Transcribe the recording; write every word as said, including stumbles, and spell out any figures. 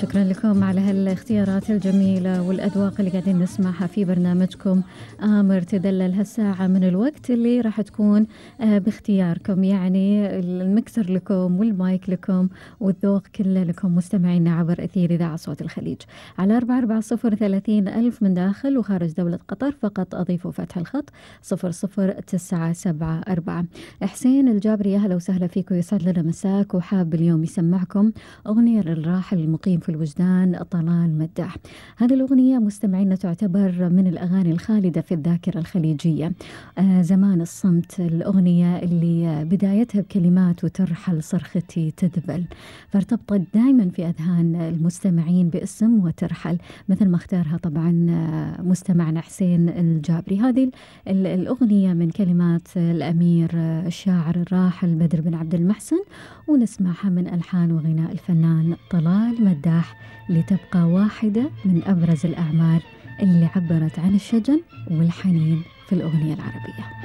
شكرا لكم على هالاختيارات الجميلة والأذواق اللي قاعدين نسمعها في برنامجكم آمر تدلل هالساعة من الوقت اللي راح تكون باختياركم، يعني المكسر لكم والمايك لكم والذوق كله لكم مستمعينا عبر أثير إذاعة صوت الخليج على أربعة أربعة صفر ثلاثين ألف من داخل وخارج دولة قطر، فقط أضيفوا فتح الخط صفر صفر تسعة سبعة أربعة. حسين الجابري أهلا وسهلا فيكم، يسعد لنا مساك، وحاب اليوم يسمعكم أغنية للراحل المقيم في الوجدان طلال مداح. هذه الأغنية مستمعينا تعتبر من الأغاني الخالدة في الذاكرة الخليجية. آه زمان الصمت، الأغنية اللي بدايتها بكلمات وترحل صرختي تذبل، فارتبطت دائما في أذهان المستمعين باسم وترحل، مثل ما اختارها طبعا مستمعنا حسين الجابري. هذه الأغنية من كلمات الأمير الشاعر الراحل بدر بن عبد المحسن، ونسمعها من ألحان وغناء الفنان طلال مداح، لتبقى واحدة من أبرز الأعمال اللي عبرت عن الشجن والحنين في الأغنية العربية.